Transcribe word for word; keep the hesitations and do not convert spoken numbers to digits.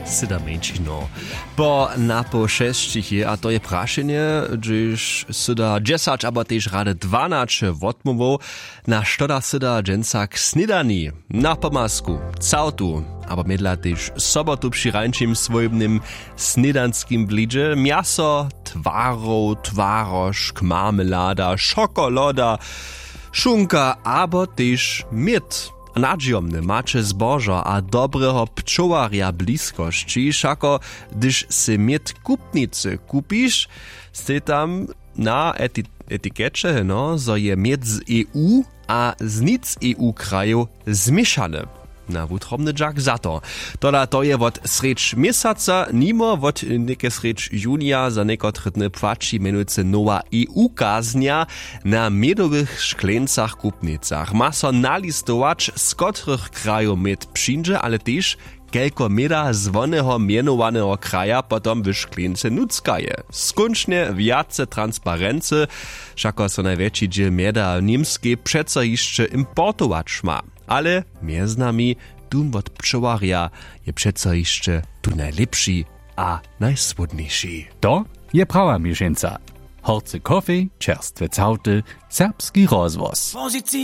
Syda mjeńšinow po napoł šesćich je, a to je prašenje, hdźež syda dźesać abo tež rady dwanaće wotmołwow. Na što da syda dźensa k snědani? Na pomazku całtu abo mědla tež sobotu při rańšim swójbnym snědanskim blidźe mjaso, twarow, twarožk, marmelada, šokoloda, šunka abo tež měd. Nadźijomne maće zbožo a dobreho pčołarja w bliskosći, wšako hdyž sej měd w kupnicy kupiš, stej tam na etikeće heno, zo je měd z E U a z nic E U krajow změšany. Na wutrobny dźak za to. Tola to je wot srjedź měsaca nimo wot něke srjedź junija za někotre dny płaći mjenujcy nowa E U kaznja. Na mědowych škleńcach w kupnicach ma so nalistować, z kotrych krajow měd přińdźe, ale tež kelko měda z woneho mjenowaneho kraja potom w škleńce nutřka je. Skónčnje wjace transparency. Wšako so najwjetši dźěl mjeda w němskej přeco hišće importować ma. Ale mjez nami, dum wot pčołarja je přeco hišće tu najlěpši a najsłódniši. To je prawa měšeńca. Horcy kofej, čerstwe całty, serbski rozhłos.